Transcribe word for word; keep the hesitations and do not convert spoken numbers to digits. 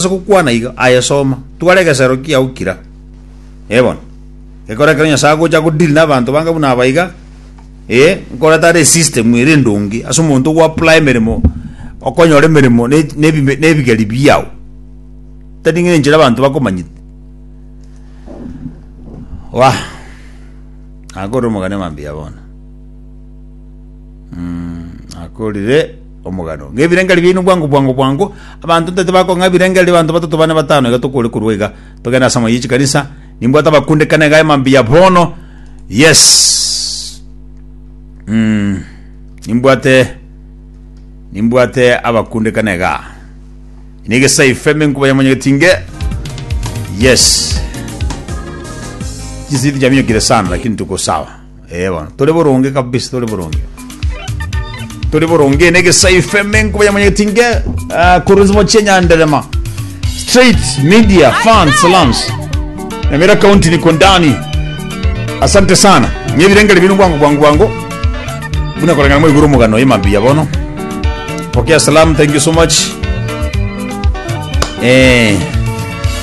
Gokwana iga, aye soma, twara egesero kiao kira. Eh bono, gekora ekero Nyasae agocha godeal na abanto banga buna aba iga, eh, nkoreta are esystem ere endonge ase omonto ogo apply emeremo, okonyora emeremo ne nebime nebigeri biao. Tari ng'a enchera abanto bakomanyete. Wah! Nakorire omogano mambia bono. Nakorire omogano. Ng'a ebirengeri biaino bwango bwango bwango, abanto ntete bakong'a ebirengeri abanto batato bane batano iga tokore korwa iga, togende ase amaye chikanisa, nimbwate abakundekane iga mambia bono, yes. Mm, nimbwate nimbwate abakundekane igaa. Negesaife menkuba ya mwanyagetinge. Yes. Chisiti chaminyokire sana lakini tuko sawa. Eh bono. Tore boronge kabisa tore boronge. Tore boronge negesaife menkuba ya mwanyagetinge. Uh, kuruzimo chenyanderema. Straight Media Fans Salams. Nyamira County niko ndani. Asante sana. Nyebirengere binu bwangu bwangu bwangu. Buna korengana mo iguru mugano imambia bono. Pokea salamu, thank you so much. Eh.